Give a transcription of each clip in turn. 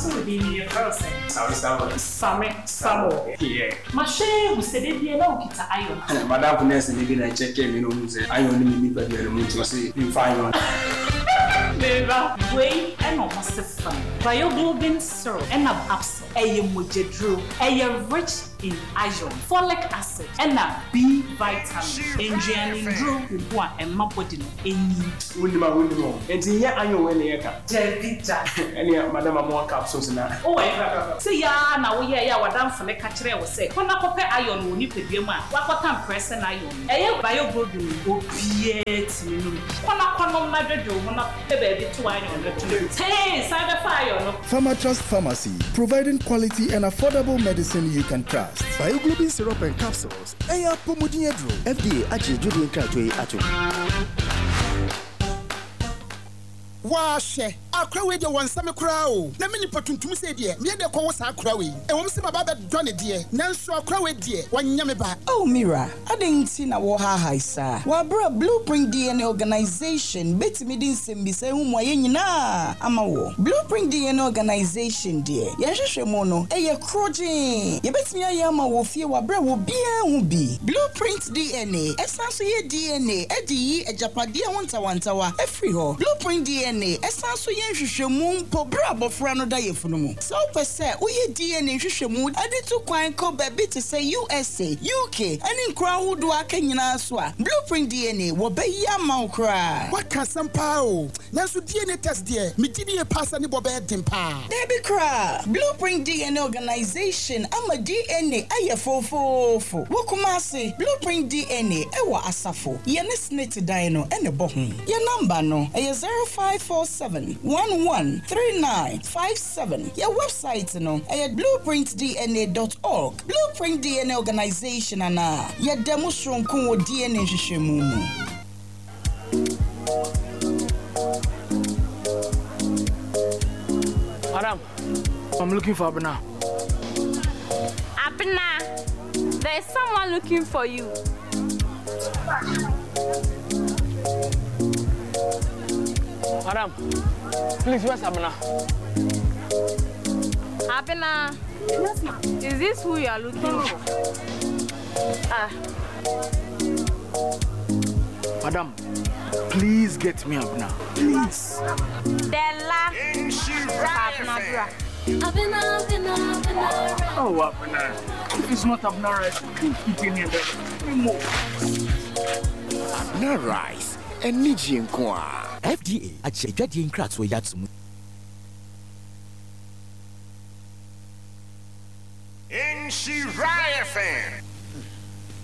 Wo nso wo din ni yɛfrɛ wo sɛn? Same Samuel. Same Samuel. Yeah. Mahwɛ ahu sɛ da biara na wokita iron. M'adamfo nurse ni bi na ɛkyɛkɛɛ me na ohuu sɛ iron nni me nipadua no mu nti ɔse memfa iron. Me ba, wei na ɔmo se fa no. Bioglobin syrup ɛna capsule. Ɛyɛ mogyaduro. Ɛyɛ rich in iron, folic acid ɛna B vitamin. Nnuane nnuro wɔ ho a ɛma body no nyin. Wonnim a wonnim o. Enti nyɛ iron wei na yɛka? Dabi da. Ɛneɛ madam amoa capsules na. Oh ɛyɛ bra. Sei ara na woyɛeɛ a w'adamfo no ka kyerɛɛ wo sɛ kɔ na kɔpɛ iron wɔ wo nipadua mu a woakɔtam prɛsɛn iron no. Ɛyɛ bioglobin no obiara tumi nom bi. Kɔ na kɔnom na dwodwo wo ho na pɛ baabi to iron no to. Tee! San bɛfa iron no. Pharmatrust Pharmacy, providing quality and affordable medicine you can trust. Bioglobin syrup and capsules, ɛyɛ apɔmuden aduro. FDA agye dwodie nkratoɔ yi atom. Waa hwɛ, akora wei deɛ wɔnsɛ me koraa o, na me nipa tuntum sei deɛ, meyɛ dɛ kɔwo saa akora wei? Ɛwom sɛ maba abɛdɔ no deɛ, nanso akora wei deɛ, wanyɛ me ba. Oh me wura, adɛn nti na wohaahae saa? Wɔ bere a Blueprint DNA Organization betumi de nsɛmmisa yi ho mmuaeɛ nyinaa ama woɔ. Blueprint DNA Organization deɛ, yɛn nhwehwɛmu no, ɛyɛ korɔgyee. Yɛbɛtumi ayɛ ama wo wɔ fie wɔ bere a obiara nhu bi. Blueprint DNA san nso yɛ DNA de yi agyapadeɛ ho ntawantawa firi hɔ. Blueprint DNA san nso yɛ nhwehwɛmu mpo bere a abɔfra no da yafunu mu. Sɛ wopɛ sɛ woyɛ DNA nhwehwɛmu de tu kwan kɔ baabi te sɛ USA, UK, ne nkuro ahodoɔ a aka nyinaa so a, Blueprint DNA wɔbɛyɛ ama wo koraa. Waka asɛm paa o, nanso DNA test deɛ, megye die paa sɛ ne bɔ bɛyɛ den paa. Dabi koraa! Blueprint DNA Organization ama DNA ayɛ foofoofo wɔ Kumasi. Blueprint DNA wɔ Asafo, yɛne SSNIT dan no na ɛbɔ ho. Yɛn namba no yɛ 0547 11 39 57. Yɛn wɛbsaet no yɛ blueprintdna dot org. Blueprint DNA Organization anaa yɛda mu soronko wɔ DNA nhwehwɛmu mu. Madam, I'm looking for Abena. Abena, there's someone looking for you. Madam, please, where's Abena? Abena, yes, ma'am. Is this who you are looking for? Ah. Madam, please get me Abena. Please. Della. Abena Abena, Abena, Abena. Oh, Abena. If it's not Abena rice, I can't eat any other anymore. Abena rice, anigye nko ara. FDA agye adwadie nkratoɔ yi ato mu. Nhyira FM.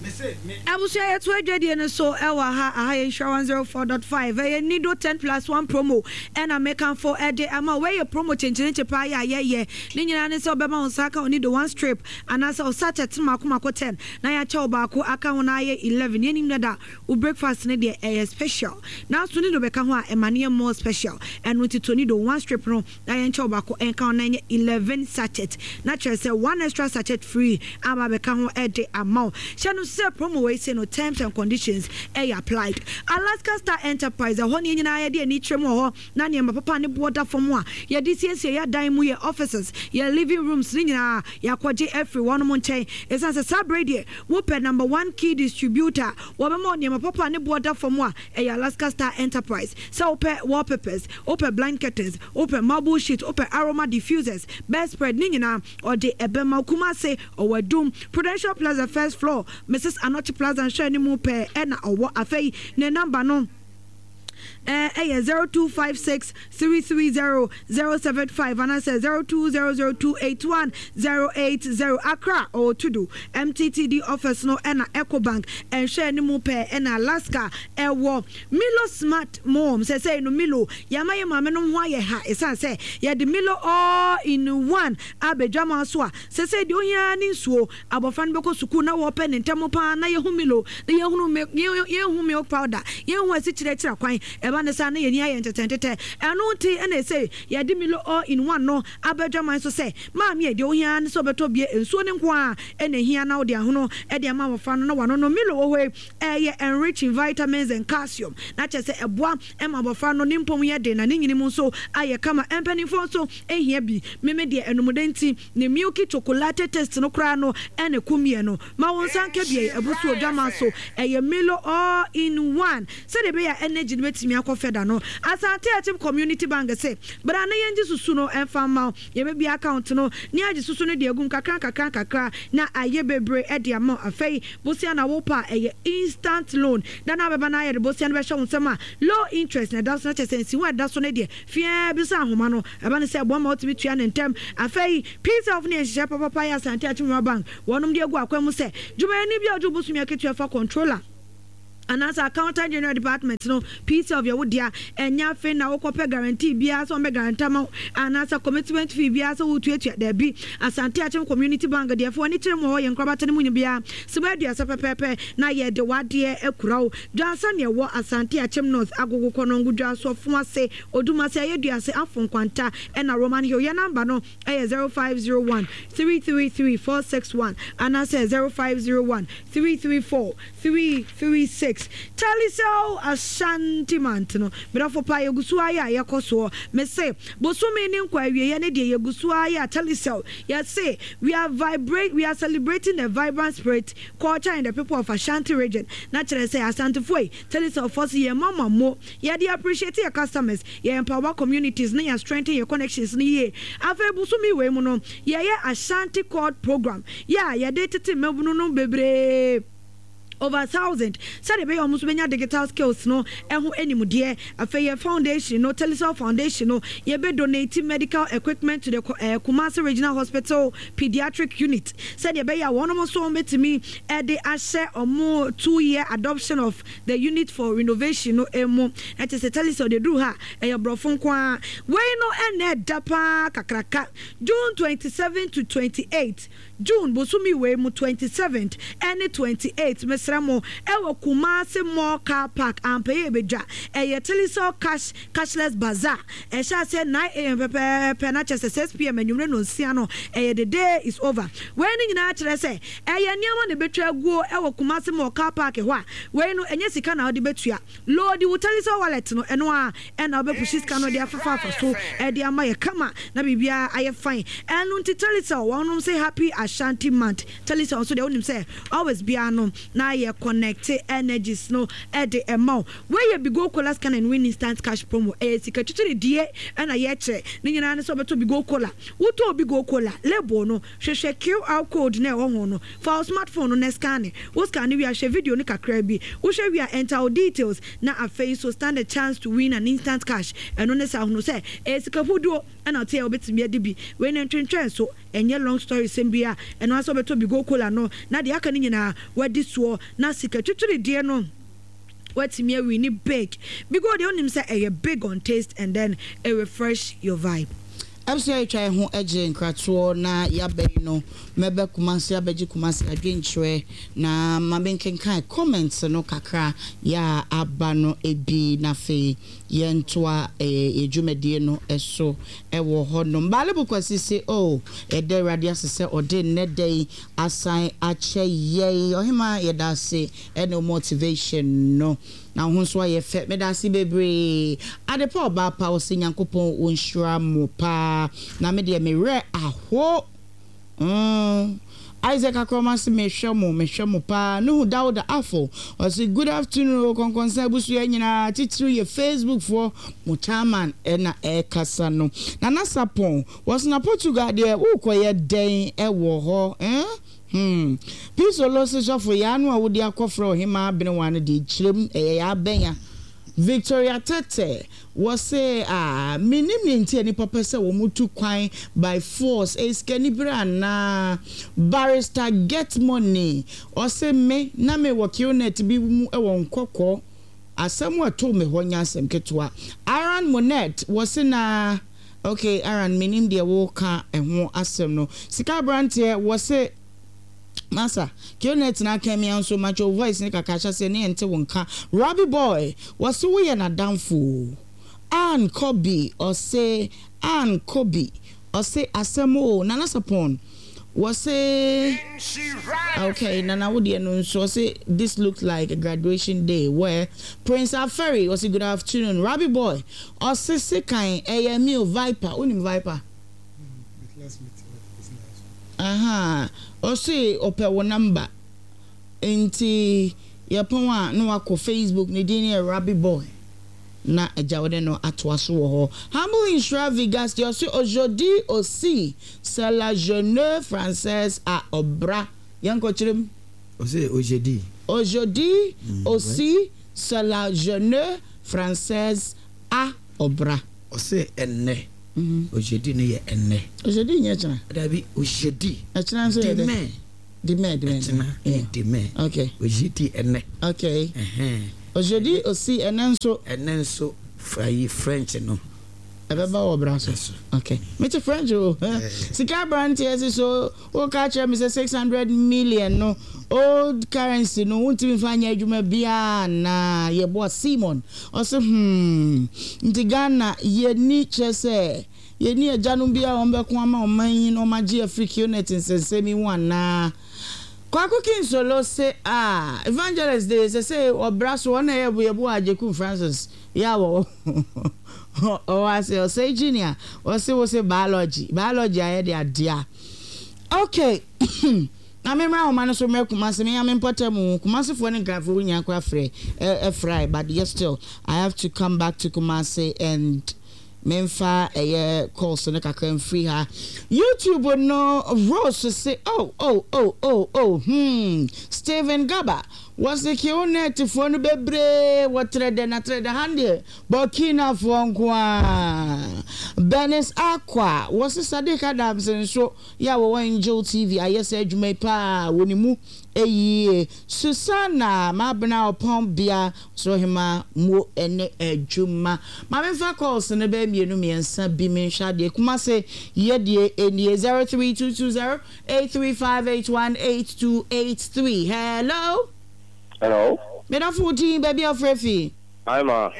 Abusua yɛto adwadie no so ɛwɔ ha aha yɛ nhyira 104.5 ɛyɛ nido 10 plus 1 promo ɛna mekanfo ɛde ama wei yɛ promo kyenkyerenkye paa yɛ a yɛyɛ ne nyinaa ne sɛ ɔbɛma wo nsa aka wo nido 1 strip anaasɛ wo sachet no mako mako 10 na yɛakyɛ wo baako aka ho na ayɛ 11 yɛnim dada Wo breakfast no deɛ ɛyɛ special nanso nido bɛka ho a ɛma no yɛ more special ɛno nti tɔ nido one strip no na yɛnkyɛ wo baako nka ho na ɛnyɛ 11 sachet na kyerɛ sɛ one extra sachet free aba abɛka ho de ama wo. Hyɛ no nso sɛ promo wei sei no terms and conditions ɛyɛ applied. Alaska Star Enterprise ɛhɔ ne yɛn nyinaa yɛde ani kyerɛ mu wɔ hɔ na nneɛma papa a ne boɔ da fam a yɛde siesie yɛn adan mu, yɛn offices, yɛn living rooms ne nyinaa yɛakɔgye afiri wɔnom nkyɛn ɛsiane sɛ saa berɛ yi deɛ Wopɛ number one key distributor a wɔbɛma wo nneɛma papa a ne boɔ da fam a, ɛyɛ Alaska Star Enterprise. Sɛ wopɛ wallpapers, wopɛ blind curtains, wopɛ marble sheet, wopɛ aroma diffusers, bedspread, ne nyinaa ɔde ɛbɛma wo. Kumasi, ɔwɔ Adum, Prudential Plaza first floor, Mrs Anokye Plaza nhwɛanimu pɛɛ na ɔwɔ. Afei ne number no. Ɛyɛ 0256 330 075 anaasɛ 0200 281 080. Accra ɔwɔ Tudu MTTD office no ɛna Ecobank nhwɛ anim pɛɛ ɛna Alaska ɛwɔ. Milo Smart Mom sɛsɛi no Milo yɛama yɛ maame nom ho ayɛ ha ɛsiane sɛ yɛde Milo all in one abɛdwa ma so a sɛsɛi deɛ ohia ara ne nsuo. Abɔfra no bɛkɔ sukuu na wɔpɛ ne ntɛm paa na yɛhu Milo na yɛhunu yɛnhu milk powder, yɛnhu asikyire akyira kwan. Ɛba. Ɛba no saa na yɛn ani ayɛ ntetɛntetɛ. Ɛno nti na ɛsɛ yɛde Milo All in One no aba adwaman so sɛ, Maame, deɛ wohia ara ne sɛ wobɛtɔ bie, nsuo no nko ara na ɛhia na wode ahono de ama abɔfra no na wanonom. Milo wɔ hɔ yi, ɛyɛ enrich in vitamins and calcium, na kyerɛ sɛ ɛboa ma abɔfra no ne mpɔn yɛ den na ne nyini mu nso ayɛ kama. Mpanimfoɔ nso hia bi. Meme deɛ anumdɛ nti, ne milky chocolate taste no koraa no na ɛkum yɛn no. Ma wo nsa nka bi, ɛyɛ abu so odwaman so. Ɛyɛ Milo all in one. Sɛdeɛ ɛbɛyɛ a energy no bɛtumi akɔ fɛda no. Asante Akyem Community Bank se, bra na yɛngye susu no mfa mma wo. Yɛbɛbue account no ne agye susu no de agu mu kakra nkakra nkakra na ayɛ bebree de ama wo. Afei, bosea na wopɛ a, ɛyɛ instant loan. Da no a wobɛba na yɛde bosea no bɛhyɛ wo nsam a, low interest na ɛda so, na kyerɛ sɛ nsiho a ɛda so no deɛ, feaa bi sɛ ahoma no. Ɛba no sɛ ɛboa ma wotumi tua no ntɛm. Afei, Peace Health ne yɛ nhyehyɛe papapa yɛ Asante Akyem Rural Bank wɔnom de agu akwan mu sɛ, dwumayɛni bi a ɔgye wo bosome akatua fa controller anaasɛ Accountant General Department no, Peace Health yɛ wo dea. Ɛnyɛ afei na wokɔpɛ guarantee biara sɛ wɔbɛ guarantee ama wo anaasɛ commitment fee biara sɛ woretuatua. Daabi. Asante Akyem Community Bank deɛ, fa w'ani kyerɛ mu wɔ hɔ, yɛn nkorabata no mu biara, sima 30 pɛpɛɛpɛ na yɛde w'adeɛ akura wo. Dwansa na ɛwɔ Asante Akyem North, Agogo, Kɔnɔngo, Dwaso, Afuase, Odumase, Ayeduase, Afo Nkwanta ɛna Roman Hill. Yɛn number no yɛ 0501 333 461 anaasɛ 0501 334 336. Telecel Ashanti Month no, medɔfo paa yɛgu so ara yɛ a yɛkɔ soɔ. Mese, bosome ne nkɔ awieɛ ne deɛ yɛgu so ara yɛ a Telecel, yɛse, we are vibrate, we are celebrating the vibrant spirit, culture and the people of Ashanti region. Na kyerɛ sɛ Asantefoɔ yi, Telecel foɔ se yɛn mama mo. Yɛde appreciate yɛ customers, yɛ empower communities na yɛ strengthen yɛ connections no yie. Afei bosome wei mu no, yɛyɛ Ashanti Chord program yɛ a yɛde tete mmabunu no bebree, over 1000, sɛdeɛ ɛbɛyɛ a wɔn nso bɛnya digital skills no ho animdeɛ. Afei yɛn foundation no, Telecel Foundation no, yɛbɛ donate medical equipment to the Kumasi Regional Hospital Pediatric Unit sɛdeɛ ɛbɛyɛ a wɔn nso wɔbɛtumi de ahyɛ wɔn 2-year adoption of The Unit for Renovation no mu. Na kyerɛ sɛ Telecel deɛ ɛduru ha a, ɛyɛ borɔfo nko ara. Wei no ɛnnɛ ɛda pa ara kakraka. June 27 to 28, June bosome wei mu 27th ɛne 28th, mesrɛ mo, ɛwɔ Kumasi Mall Car Park, Ampeye Ebedwa. Ɛyɛ Telecel Cash Cashless Bazaar. Ɛhyɛ aseɛ 9am pɛpɛɛpɛ na kyerɛ sɛ 6pm anwummere nnɔnsia no, ɛyɛ the day is over. Wei no nyinaa kyerɛ sɛ Ɛyɛ nneɛma na ebetwa aguo wɔ Kumasi Mall car park hɔ a, wei no ɛnyɛ sika na wode bɛtua. Loadi wo Telecel wallet no, ɛno ara ɛna wobɛpushi sika no de afefa afa so de ama yɛ kama na biribiara ayɛ fine. Ɛno nti Telecel wɔnom se Happy Ashanti Month. Telecel nso deɛ wonim sɛ always biara no na yɛ connect energies no de ma wo. Wei yɛ Bigo Cola Scan and Win Instant Cash Promo. Ɛyɛ sika twitwiridie na yɛkyerɛ. Ne nyinaa ne sɛ wobɛtɔ Bigo Cola. Wotɔɔ Bigo Cola, label no, Hwehwɛ QR code no a ɛwɔ ho no. Fa wo smartphone no na scanne. Wo scanne wie a, hwɛ video no kakraa bi. Wohwɛ wie a, enter wo details na afei nso stand a chance to win an instant cash. Ɛno ne saa, hunu sɛ ɛyɛ sika huduo na wote a wobɛtumi adi bi. Wei no ntwentwɛn so, ɛnyɛ long story sɛm biara. Ɛno ara sɛ wobɛtɔ Bigo Cola no na deɛ aka no nyinaa woadi soɔ na sika twitwiridie no woatumi awini big. Bigo deɛ wonim sɛ ɛyɛ big on taste and then it refresh your vibe. Abusua yɛtwa yɛn ho gye nkratoɔ na yaba yi no mɛba Kumasi abɛgye Kumasi adwenkyerɛ na ma menkenkan comments no kakra yɛ a aba no bi na afei yɛntoa yɛ dwumadie no so wɔ hɔ nom. Baalibu Kwasi se oh yɛda Awurade ase sɛ ɔde nnɛ da yi asan akyɛ yɛn. Ɔhemaa yɛda ase ɛne wo motivation no. Na wo ho nso ayɛ fɛ. Medase bebree. Adepa ɔbaa pa ɔse Nyankopɔn ɔnhyira mo paa na me deɛ me werɛ aho mm Isaac Akoroma se mehwɛ mo mehwɛ mo paa Nuhu Dauda Afo ɔse good afternoon o Kɔnkɔnsa abusua nyinaa titiriw yɛ Facebook foɔ mo chairman na ɛkasa no Nana Sapon wɔse na Portugal deɛ wokɔyɛ dɛn wɔ hɔ eh Hmm. Peace Olose sɔfo yaa no a wode akɔfrɛ ɔhemaa abenewa no deɛ kyerɛm ɛyɛ yaa bɛn a? Victoria Tete wɔse ah mennim nea nti a nnipa pɛ sɛ wɔn tu kwan by force ɛyɛ sikanibere anaa? Barrister Get Money ɔse me na me wɔ qnet bi mu wɔ nkɔkɔ asɛm a ɛtoo me hɔ nyɛ asɛm ketewa Aaron Monette wɔse na Ok Aaron menim deɛ woka ɛho asɛm no. Sika abranteɛ wɔse. Masa, Kionet na aka mi nso matwe wo voice ne kakra hyɛ aseɛ ne yɛnte wo nka. Robbie boy, wɔse woyɛ n'adamfo o. Ann Kobi ɔse Ann Kobi ɔse asɛm o. Nana Sapon wɔse okay Nana wo deɛ no nso ɔse this looks like a graduation day where Prince Aferi ɔse good afternoon. Robbie boy ɔse sekan ɛyɛ me o Viper wonim Viper? Ahaa ɔse ɔpɛ wo number nti yɛpɔn a na wakɔ Facebook ne din yɛ Rabbi boy na agya wo ne no atoa so wɔ hɔ. Humble Nhyira Vigasti ɔse aujourd'hui aussi c'est la jeune française à ɔbra yɛnkɔ kyerɛ mu. Ɔse aujourd'hui. Aujourd'hui aussi c'est la jeune française à ɔbra. Ɔse ɛnnɛ. Ogyedi no yɛ ɛnnɛ. Ogyedi nyɛ kyena. Dabi, ogyedi. Ɛkyena nso yɛ dɛ. Demain. Demain, demain. Ɛkyena yɛ demain. Okay. Ogyedi ɛnnɛ. Okay. Ɛhɛn. Ogyedi osi ɛnnɛ nso. Ɛnnɛ nso ayi French no. Ɛbɛba wɔ bra so. Okay. Mete French o. Sika abranteɛ se so woka kyerɛ me sɛ 600 million no old currency no wontumi mfa nyɛ adwuma biara anaa? Yɛboa Simon. Ɔse hmm nti Ghana yɛnni kyerɛ sɛ yɛnni agyanom bi a wɔn bɛko ama ɔman yi na wɔn agye afiri Qnet nsɛnsɛm yi ho anaa? Kwaku Kinsolo se ah Evangelist de sɛsɛi ɔbra so ɔna ɛyɛ Yeboah Agyekum Francis yɛ a wɔwɔ ɔwɔ ase Ɔsɛe Junior ɔse wo se biology biology ayɛ de adea ok Na me mmra ahoma no so mmrɛ Kumasi me ya me mpɔtam o Kumasi foɔ ne Nkran foɔ nyinaa koraa frɛ ɛfrae but yet still I have to come back to Kumasi and me nfa ɛyɛ calls no kakra mfiri ha YouTube no Rose se oh oh oh oh oh hmm Stephen Gaba wɔse Qnet foɔ no bebree wɔ trɛdɛ na trɛdɛ ha no deɛ Burkina foɔ nko ara Bernice Akwa wɔse Sadiq Adams nso Yɛ a wɔwɔ Angel TV ayɛ saa adwuma yi paa wɔ ne mu yie. Susanna Mabena Ɔpɔn Bea Ɔsorohema mo ne adwuma. Ma me nfa calls no bɛyɛ mmienu mmiɛnsa bi me nhwɛ adeɛ. Kumase yɛ deɛ nie 03220 83581 8283. Hello. Hello. Me dɔfo wo din baabi a wofrɛ fi. Hi ma.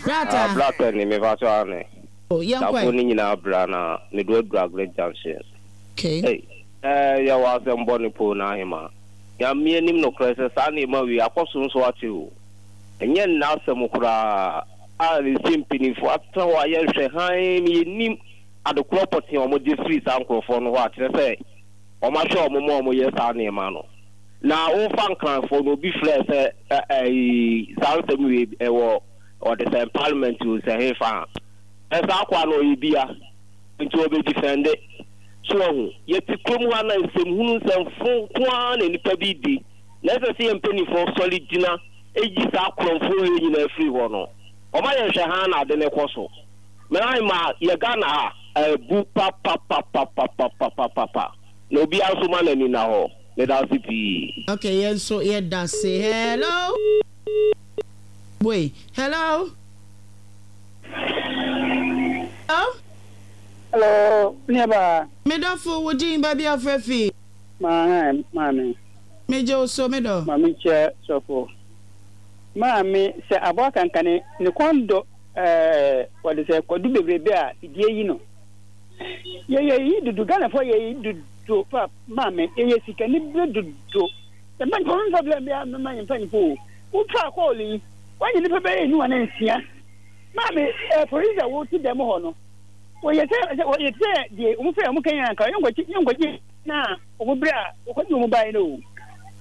Brata. Ah brata ni me fa so ane. Oh, yɛnkɔ Dafo ɛ. no nyinaa bra na mede wo aduru Aggrey Junction. Okay. Ei, eh, yɛwɔ asɛm bɔne poo na ahema. Nyame anim nokorɛ sɛ saa nneɛma wei akɔ so nso akyɛ o. Ɛnyɛ nnɛ asɛm koraa a ɛsɛ mpaninfoɔ atena hɔ ayɛ nhwɛ hann na yɛnnim adekorɔ pɔtee a wɔgye firi saa nkorɔfoɔ no hɔ a kyerɛ sɛ wɔahwɛ wɔn ma wɔyɛ saa nneɛma no. Na wofa Nkranfoɔ no obi frɛɛ sɛ ɛyi saa nsɛm wei ɛwɔ Ɔde sɛ parliament o sɛ hefa a, ɛ saa akoa no ɔyɛ bia nti ɔbɛ defende. So wahu? Yɛte kurom ha na nsɛmhunu nsɛmfo nko ara na nnipa bi di na ɛsɛ sɛ yɛn mpaninfoɔ sɔre gyina yi saa korɔmfoɔ wei nyinaa firi hɔ no. Ɔma yɛn hwɛ haa na ade no kɔ so. Mɛhan ma yɛ Ghana ha abu papapapapapapapapa na obiara nso ma n'ani nna hɔ. Medase pii. Okay yɛn nso yɛdase. Hello. Wei, hello? Hello? Hello, nuabaa. Me dɔfo, wo din, baabi a wofrɛ fi? Maame, maame. Megye wo so, me dɔ. Maame nkyia sɔfo. Maame, sɛ aboa kankane ne kɔn dɔ ɛɛ wɔde sɛ kwadu bebrebe a fidie yi no. Yɛyɛ yi dodo, Ghanafoɔ yɛ yi dodo pa maame, yɛyɛ sikani bere dodo. Mpanyinfoɔ mfa bla bia mma yɛn mpanyinfoɔ o. Wotwaa kɔɔl yi, woanye nnipa bɛyɛ enum anaa nsia. Maame, eh, polisi a wɔte dɛm hɔ no, wɔyɛ sɛ, sɛ wɔyɛ te sɛ deɛ wɔn fɛ wɔn kɛnyɛ anka yɛnkɔgye yɛnkɔgye na wɔn berɛ a wɔkɔgye wɔn baeɛ no o.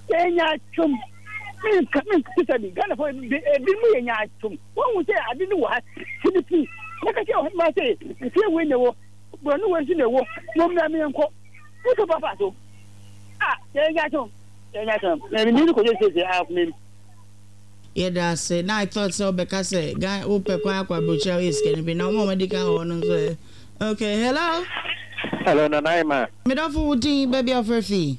Yɛyɛ nyaatwom. Menka menkasa bi. Ghanafoɔ ebinom yɛ nyaatwom. Wɔn sɛ ade no wɔ ha, sibiti. Mɛka kyerɛ ɔhema sɛ efie wei na ɛwɔ, borɔno wei nso na ɛwɔ, na wɔmmra menkɔ. Wotɔ papa so. Ah, yɛyɛ nyaatwom. Yɛda ase. Na I thought sɛ wobɛka sɛ Ghana wopɛ kwan akɔ aburokyire a woyɛ sikani bi na wɔn a wɔadi kan wɔ hɔ no nso ɛ. Okay, hello. Hello, Nana Emma. Me dɔfo wo din, baabi a wofrɛ fi?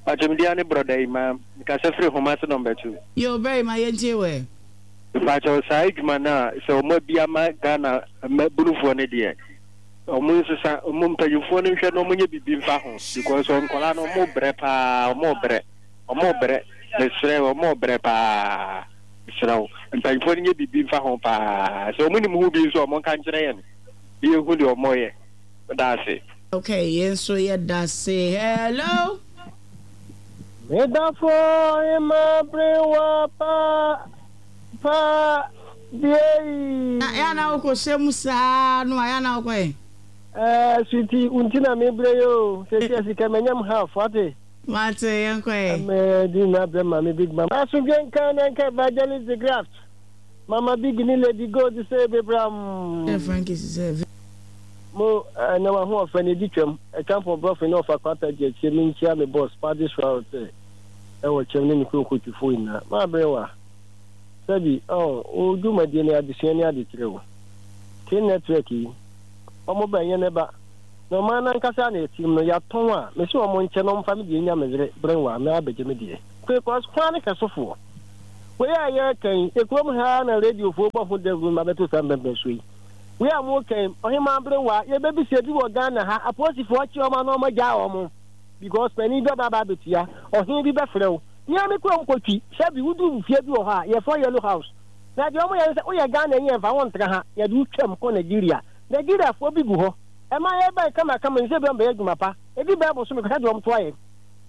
Pacho me din ne Brɔda Emma. Mekasa firi Homase number 2. Yo, Brɛ Emma yɛntie wo ɛ. Mepakyɛw saa adwuma no a sɛ wɔn abi ama Ghana mmabunufoɔ no deɛ. Ɔmo nsesa, ɔmo mpanyinfoɔ no nhwɛ na ɔmo nyɛ biribi mfa ho because nkwadaa no ɔmo brɛ paa, ɔmo brɛ, ɔmo brɛ, mesrɛ wo ɔmo brɛ paa, mesrɛ wo mpanyinfoɔ no nyɛ biribi mfa ho paa, sɛ ɔmo nim ho bi nso a ɔmo nka nkyerɛ yɛn na yɛnhu deɛ ɔmo yɛ, meda ase. Okay, yɛn nso yɛda ase. Hello. Medafo ɔhema berewa pa pa deɛ yi. Na ya na wokɔ hyɛ mu saa no a ya na wokɔ yɛ. Ɛɛ sweetie wo nti na mebrɛ yi o sɛsi sika manyam half wate. Mate yɛnkɔ ɛ. Mɛ di na brɛ maame big mama. Asomdwe nka na nka evangelist the graft mama big ne lady gold sɛ bebram. Sɛ Frankie sɛ. Mo ɛnɛ w'ahoɔfɛ no edi twam Ɛkampɔn brɔfo ne ɔfa kwata gye akyire Menkyia me boss Paddy Sraw sɛ ɛwɔ kyɛm ne ne kurom kotwifo nyinaa M'aberewa sɛbi oh wo dwumadie no adesua ne adekyerɛ o K network yi ɔmo ba ɛnyɛ nɛ ba Na ɔman no ankasa na ɛtim no yɛatɔn a mese ɔmo nkyɛ na ɔmfa me deɛ nya me yere Berewa na abɛgye me deɛ Because hwan ne hwɛsofoɔ Wei a yɛreka yi ekurom ha ara na radiofoɔ bɔ ho dawuro no abɛto saa mpɛmpɛnsoɔ yi Wei a mo ka yi, Ɔhemaa Aberewa, yɛbɛbisa bi wɔ Ghana ha, apolisifoɔ akye wɔn a na wɔn agyaa wɔn because panin bi aba aba abɛtua, ɔhene bi bɛfrɛ wo. Me ara me kurom kɔtwi, sɛbi woduru fie bi wɔ hɔ a, yɛfrɛ Yellow House. Na deɛ wɔyɛ ne sɛ, woyɛ Ghanani a mfa wo ntra ha, yɛde wo twam kɔ Nigeria. Nigeriafoɔ bi gu hɔ. Ɛma yɛbɛn kamakama yi sɛ ebi wɔn bɛyɛ adwuma pa. Ɛdi bɛyɛ bosome kɔhwɛ deɛ wɔn to ayɛ.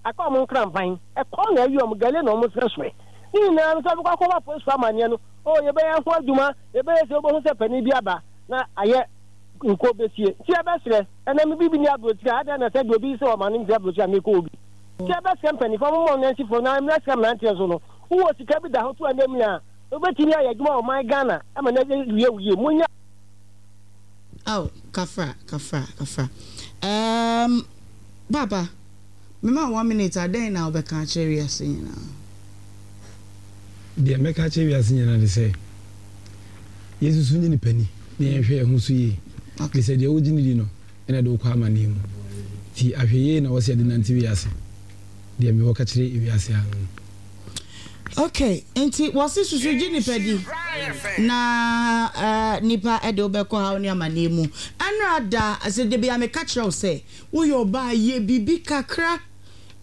Aka wɔn nkrampan, ɛkɔm na ayi wɔn, gale na wɔn srɛ soɛ. Ne nyinaa no sɛ wobɛkɔ akɔbɔ apolisifoɔ amaneɛ no, oh yɛbɛyɛ ho adwuma, yɛbɛyɛ sei, wobɛhu sɛ panin bi aba na ayɛ nko bɛsie. Nti yɛbɛsrɛ, ɛnɛ me bibi ni aburokyire a, adɛn na sɛ deɛ obi sɛ ɔma no mfiri aburokyire a mekɔ hɔ bi. Nti yɛbɛsrɛ mpanimfoɔ, momma wɔn nansifoɔ na mmra sika mmeranteɛ nso no, wowɔ sika bi da hɔ to ɛnɛ mu a, wobɛtumi ayɛ adwuma wɔ ɔman Ghana ama no awie wo yie. Monyɛ. Ao, kafra, kafra, kafra. Erm, Paapa, mema wo one minute a, dɛn na wobɛka akyerɛ wiase nyinaa? Deɛ mɛka akyerɛ wiase nyinaa ne sɛ, yɛnsusu nyɛ nipa ni na yɛnhwɛ yɛn ho so yie. Ɛfiri sɛ deɛ wogye no di no na ɛde wo kɔ amaneɛ mu. Nti ahwɛyie na ɛwɔ sɛ yɛde nante wiase. Deɛ mewɔ ka kyerɛ wiase ara no no. Ok, nti wɔse susu gye nipa di na eh, nipa de wo bɛkɔ haw ne amaneɛ mu. Ɛnora da, sɛ da biara meka kyerɛ wo sɛ woyɛ ɔbaa yɛ biribi kakra.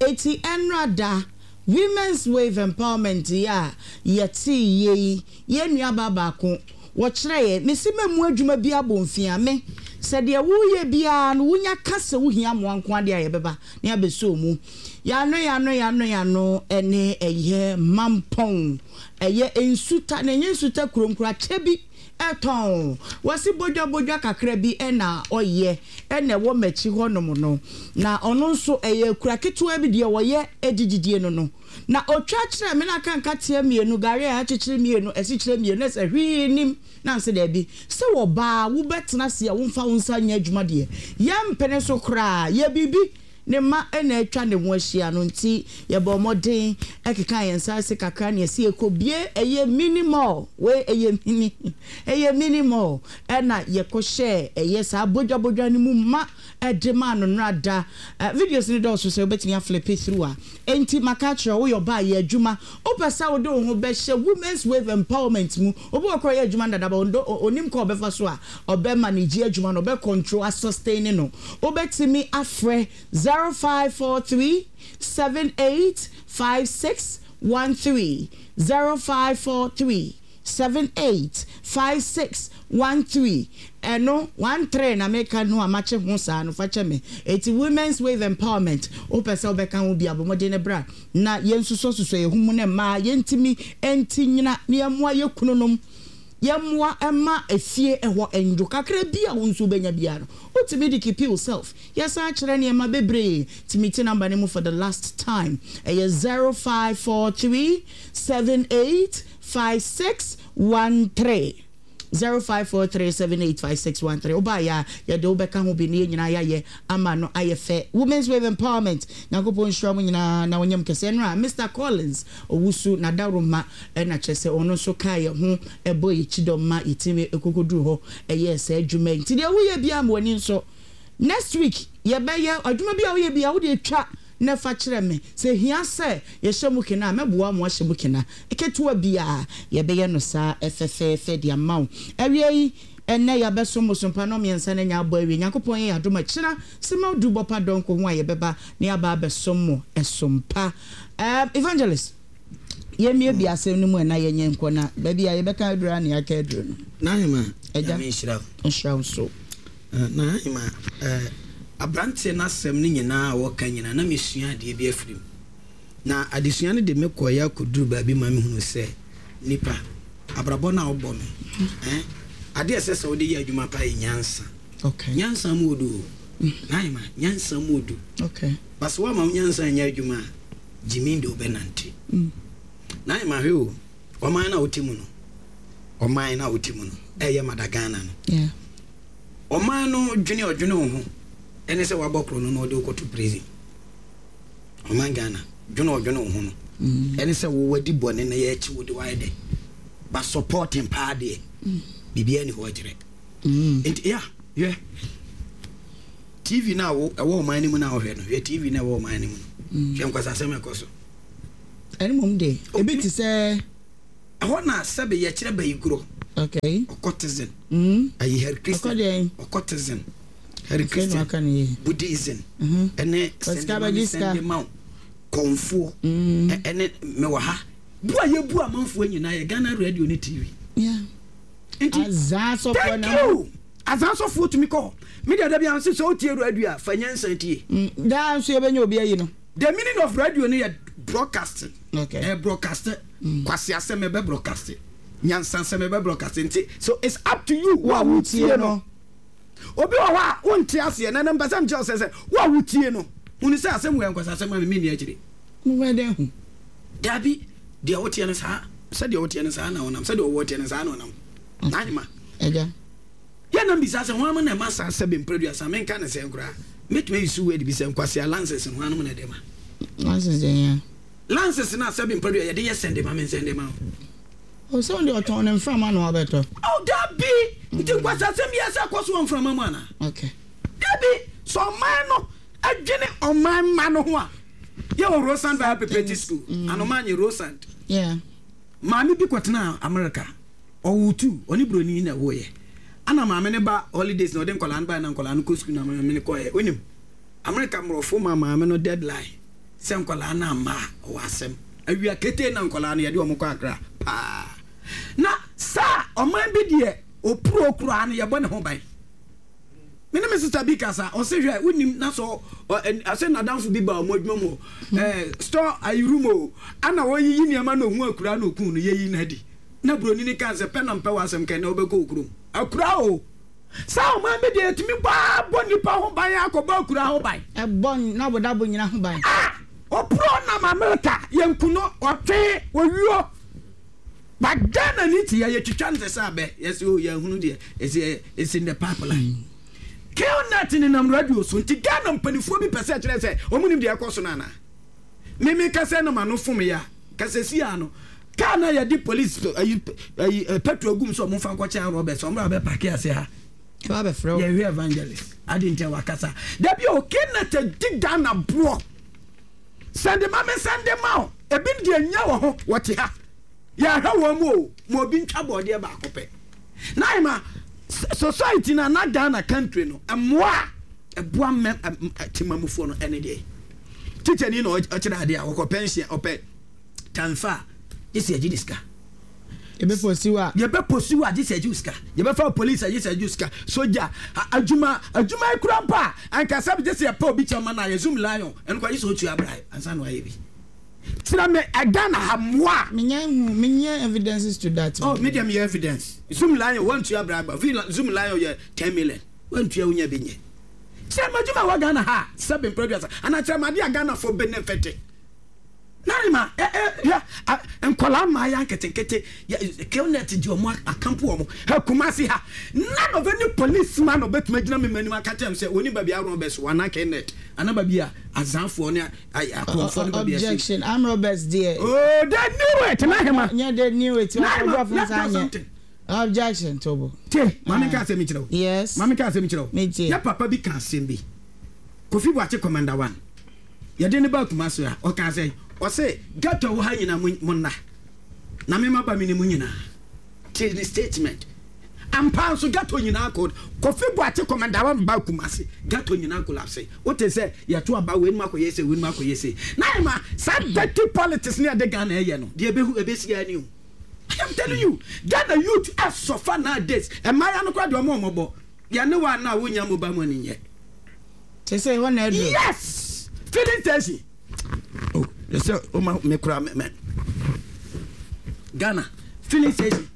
Enti ɛnora da, Women's Wave Empowerment yi a yɛtee yɛ yi, yɛn nuabaa baako, wɔkyerɛ yɛn, mese mɛmu adwuma bi abɔ mfia me, sɛ deɛ woreyɛ biara no wonya ka sɛ wohia mmoa nko ara deɛ a yɛbɛba na yɛabɛsɔ wo mu. Yɛano yɛano yɛano yɛano ne ɛyɛ mampɔn ɛyɛ nsuta na ɛnyɛ nsuta kurom koraa kyɛ bi ɛtɔn wɔsi bodwa bodwa kakra bi ɛna ɔyɛ ɛna ɛwɔ m'akyi hɔ nom no na ɔno nso ɛyɛ akura ketewa bi deɛ ɔyɛ ɛdididie no no na ɔtwa kyerɛ me na aka nkateɛ mmienu gari a akyekyere mmienu asikyire mmienu na sɛ hwee nim na nse daabi sɛ ɔbaa wobɛtena ase a womfa wo nsa nyɛ adwuma deɛ yɛmpene so koraa yɛ biribi Ne mma na atwa ne ho ahyia no nti yɛbɔɔ mmɔden kekaa yɛn nsa ase kakra na yɛse yɛkɔbue ɛyɛ mini mall, wei ɛyɛ mini, ɛyɛ mini mall ɛna yɛkɔhyɛɛ ɛyɛ saa bodwa bodwa no mu ma de maa no nnora da. Videos no dɔɔso sɛ wobɛtumi aflipe through a. Enti maka akyerɛ wo, woyɛ ɔbaa yɛ adwuma, wopɛ sɛ wode wo ho bɛhyɛ Women's Wave Empowerment mu, obi wɔ koraa ɔyɛ adwuma no dada but ɔnnim kwan a ɔbɛfa so a ɔbɛ manage adwuma no, ɔbɛ control, asustain no. Wobɛtumi afrɛ 0543 78 56 13, 0543 78 56 13, ɛno 13 na meka no a makye ho saa no fa kyɛ me. Enti Women's Wave Empowerment wopɛ sɛ wobɛka ho bi a bɔ mmɔden na bra na yɛnsusɔsusɔ yɛn ho mu na mmaa yɛntumi nti nyina na yɛmmoa yɛn kununom. Yɛmmoa mma efie hɔ nnwo. Kakra bi a wo nso wobɛnya biara no, wotumi de keepi wo self. Yɛsan kyerɛ nneɛma bebree. Tumi te number no mu for the last time. Ɛyɛ 0543 78 56 13. 0543 78 56 13. Wobaeɛ a, yɛde wo bɛka ho bi na yɛn nyinaa yɛayɛ ama no ayɛ fɛ. Women's Wave Empowerment, Nyankopɔn nhyira mo nyinaa na ɔnyɛ mo kɛse. Ɛnora, Mister Collins Owusu, n'adaworoma na kyerɛ sɛ ɔno nso kaa yɛn ho bɔɔ yɛn kyidɔm ma yɛtumi kɔkɔduruu hɔ yɛɛ saa adwuma yi. Nti deɛ woyɛ biara ma w'ani nsɔ. Next week yɛbɛyɛ adwuma bi a woyɛ biara wode twa na fa kyerɛ me. Sɛ ɛhia sɛ yɛhyɛ mu kena a, mɛboa mo ahyɛ mu kena. Ketewa biara yɛbɛyɛ no saa fɛfɛɛfɛ de ama wo. Awiei. Ɛnnɛ yɛabɛsom bosompa nnɔmmiɛnsa no anya abɔ awie. Nyankopɔn yɛ yɛn adom a, kyena Sema du bɔpa dɔnko ho a yɛbɛba na yɛaba abɛsom mo ɛsom pa. Ɛɛm, Evangelist, yɛmmiebie asɛm no mu ɛ na yɛnyɛ nkɔ na baabi a yɛbɛka aduru ara na yɛaka aduru no. N'ahema, Agya, Nyame nhyira wo. Nhyira wo nso. N'ahema, ɛɛ, abranteɛ no asɛm no nyinaa a ɔka nyinaa na mesua adeɛ bi afiri mu. Na adesua no de me kɔeɛ akɔduru baabi ma mehunuu sɛ nipa, abrabɔ no a wobɔ no, eh, adeɛ a ɛsɛ sɛ wode yɛ adwuma paa yɛ nyansa. Okay. Nyansa mu odu o. N'ahema, nyansa mu odu. Okay. Ba sɛ woama wo nyansa anyɛ adwuma a, gyimi de wobɛnante. N'ahema, hwɛ o, ɔman no a wote mu no, ɔman no a wote mu no, ɛyɛ Mada Ghana no. Yeah. Ɔman no dwene ɔdwene wo ho ɛne sɛ wabɔ korɔ no na ɔde wo kɔto prison. Ɔman Ghana, dwene ɔdwene wo ho no ɛne sɛ wo wadi bɔne na yɛakyi wo de wayɛ dɛ ba supporting paa deɛ biribiara ni hɔ ɔkyerɛ nti ya hwɛ TV no a wo ɛwɔ ɔman no mu na wohwɛ no hwɛ TV no ɛwɔ ɔman no mu no hwɛ nkwasasɛm ɛkɔ so. Ɛne mmom de ebi te sɛ. Ɛhɔ na sɛbe yɛkyerɛ bayigorɔ. Okay. Occultism. Ayi Hare Christian. Occultism. Hare Christian. Buddhism. Ɛne sɛnde sɛnde ma wo. Kɔnfoɔ. Ɛne mewɔ ha. Bu a yɛbu amanfoɔ nyinaa yɛ Ghana radio ne TV. Yeah. Nti. Azaa sɔfoɔ na. Thank you. Azaa sɔfoɔ tumi kɔ hɔ. Me deɛ dabi anse sɛ wotie radio a fa nyansa tie. Daa nso yɛbɛnya obi ayi no. The meaning of radio no yɛ broadcasting. Okay. Ɛyɛ broadcast. Kwasi asɛm ɛbɛ broadcast. Nyansa asɛm ɛbɛ broadcast. Nti so it's up to you wo a wotie no. Obi wɔ hɔ a wonte aseɛ na mpɛ sɛ mekyerɛ wo sɛ sɛ wo a wotie no hunu sɛ asɛm wei yɛ nkwasasɛm a me menni akyire. Wobɛyɛ dɛn ahu? Dabi, deɛ woteɛ no saa, sɛdeɛ woteɛ no saa na wonam, sɛdeɛ ɔwɔ teɛ no saa na ɔnam. N'ahema. Agya. Yɛ na mbisa sɛ hwan na ɛma saa sɛbe mprɛduasa menka ne sɛn koraa. Mɛtumi ayi so word bi sɛ nkwasea lances no hwan nom na ɛde ma? Lances deɛ hia. Lances no a sɛbe mprɛdua yɛde yɛ sɛnde ma me nsɛnde ma wo. O sɛ wode ɔtɔn no mframa na wabɛtɔ. Oh dabi! Nti nkwasiasɛm biara sɛ ɛkɔ so wɔ mframa mu anaa? Okay. Dabi! Sɛ ɔman no dwene ɔman mma no ho a, yɛwɔ Rosand Bible Preparatory School, Anoma nye Rosand. Yeah. Maame bi kɔtenaa America, ɔwoo two, ɔne buroni na ɛwoeɛ. Ana maame no ba holidays na ɔde nkwadaa no baeɛ na nkwadaa no kɔ sukuu na maame no kɔeɛ. Wonim, America mmorɔfo ma maame no deadline sɛ nkwadaa no amma a, ɔwɔ asɛm. Awia ketee na nkwadaa no yɛde wɔn kɔ Accra paa. Na saa ɔman bi deɛ opuro koraa no yɛbɔ ne ho ban. Me ne me sista bi kasa, ɔse hwɛ wonim na sɛ ɔse n'adamfo bi ba wɔn adwuma mu hɔ, ɛɛ store ayi room o, ana wɔyiyi nneɛma na ohun akura na okun no yɛyi no adi. Na buroni no kaa sɛ pɛ na mpɛ w'asɛm kɛn na wobɛkɔ wo kurom. Akura o! Saa ɔman bi deɛ yɛtumi bɔ ara bɔ nnipa ho ban akɔbɔ akura ho ban. Ɛbɔ n'abodabo nyina ho ban. Ah! Ɔporɔ nam America yɛnku no, ɔtwe, ɔwuo. But Ghana ni te yɛ yɛtwitwa no te sɛ abɛ, yɛse oh yɛahunu deɛ it's, it's in the pipeline. Killnet nenam radio so nti Ghana mpanifoɔ bi pɛ sɛ ɛkyerɛ sɛ wɔn nim deɛ ɛkɔ so no anaa? Me me kasa na m'ano fom yɛ a, kasa si ano. Kaa na yɛde police ayi ayi petrol gum sɛ ɔmo nfa nkɔkyɛ Roberts ɔmo abɛ pake ase ha. Ɛba abɛfrɛ wo. Yɛhwɛ evangelist adi nti a wakasa. Dabi o Kenneth di Ghana boɔ. Sɛnde ma me sɛnde ma o. Ebi deɛ nya wɔ ho wɔte ha. Yɛhwɛ wɔn mu o ma obi ntwa bɔɔdeɛ baako pɛ. Na ɛma society na na Ghana country no mmoa a ɛboa mmɛ temamufoɔ no ɛne deɛ. Tikyani na ɔkyerɛ adeɛ a ɔkɔ pension ɔpɛ tanfa a gye sɛ yɛgye ne sika. Yɛbɛposi wo a. Yɛbɛposi wo a gye sɛ yɛgye wo sika. Yɛbɛfa wo polisi a gye sɛ yɛgye wo sika. Sogya adwuma adwuma yi kura mpo a anka sɛ gye sɛ yɛpɛ obi kyɛw ma no a yɛ zoom lion ɛno kora gye sɛ otua bribe ansa na wayɛ bi. Kyerɛ me Ghana ha mmoa a. Menya hu menya evidences to that. Oh me deɛ meyɛ evidence. Zoom lion wantua bribe a zoom lion yɛ 10 million wantua wonya bi nyɛ. Kyerɛ me adwuma a ɛwɔ Ghana ha a sɛbe mpɛ aduasa anaa kyerɛ me adeɛ a Ghanafoɔ benefit. Narima ɛ ɛ hwɛ a nkwadaa mmaayɛ nketenkete yɛ Killnet di wɔn akampo wɔn hɛ Kumasi ha none of any policeman ɔbɛtumi agyina me m'anim aka kyerɛ me sɛ wɔnim baabi a robbers wɔ anaa Killnet anaa baabi a azanfoɔ ne akorɔmfoɔ ne baabi a Objection arm robbers deɛ. Oh they knew it Nahima. Nyɛ they knew it. Nahima let me tell something. Objection tobo. Tie, maame nka asɛm nkyerɛ wo. Yes. Maame nka asɛm nkyerɛ wo. Me tie. Yɛ papa bi ka asɛm bi. Kofi Boakye Commander One. Yɛde ne ba Kumasi a, ɔka sɛ, ɔse ghetto wɔ ha nyinaa mo nna. Na me maba me ne mu nyinaa. Tie ne statement. Ampa nso ghetto nyinaa kɔ Kofi Boakye Commander One ba Kumasi ghetto nyinaa collapse. Wote sɛ yɛto aba wei nom akɔyɛ sei wei nom akɔyɛ sei. Na ɛma saa dirty politics ne ɛde Ghana ɛyɛ no deɛ ɛbɛhu ɛbɛsi ara ni o. I am telling you Ghana youth ɛsɔfa nowadays. Mmaayewa no koraa deɛ ɔmo ɔmɔbɔ. Yɛne wo a na wonya mobile money nyɛ. Te sɛ ɛhɔ na aduru. Yes! Filling station. Oh, sɛ o ma me kura me me. Ghana filling station.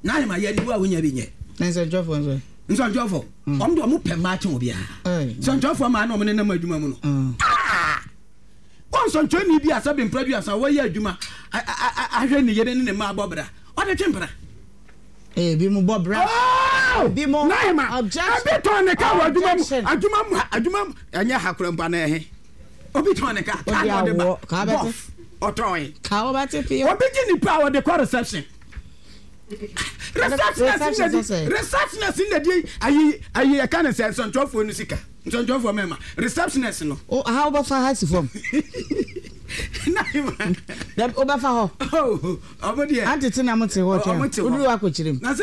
Na ayɛ ma yɛ ni wo a wonya bi nyɛ. Na nsɛntwerɛfoɔ nso. Nsɛntwerɛfoɔ. Mm. Wɔn de wɔn pɛ mmaa kyɛn obiara. Nsɛntwerɛfoɔ maa na wɔn nenam adwuma mu no. Mm. Ah! Wɔn nsɛntwerɛni bi a sɛbi mpere aduasa wɔyɛ adwuma ahwɛ ne yere ne ne mma abɔ bra. Ɔde twe mpena. Ebi mo bɔ bra. Oh! Ebi mo. Naima. Objection. Ebi tɔn ne ka wɔ adwuma mu. Adwuma mu adwuma mu ɛnyɛ ha kura mpa na ɛhe. Obi tɔn ne ka. Kaa na ɔde ba. Bɔf ɔtɔn. Ka ɔbɛte pii. Obi gye nipa a ɔde kɔ reception. Receptionist na di receptionist na di ayi ayi ɛka ne sɛ nsɔntwerɛfoɔ no sika nsɔntwerɛfoɔ mɛma receptionist no. O aha wobɛfa ha si fam. Naima. Wobɛfa hɔ. Oh ɔmo deɛ. Antete na mo te hɔ twɛn. Ɔmo te hɔ. Woduru akɔkyerɛ mu. Na sɛ.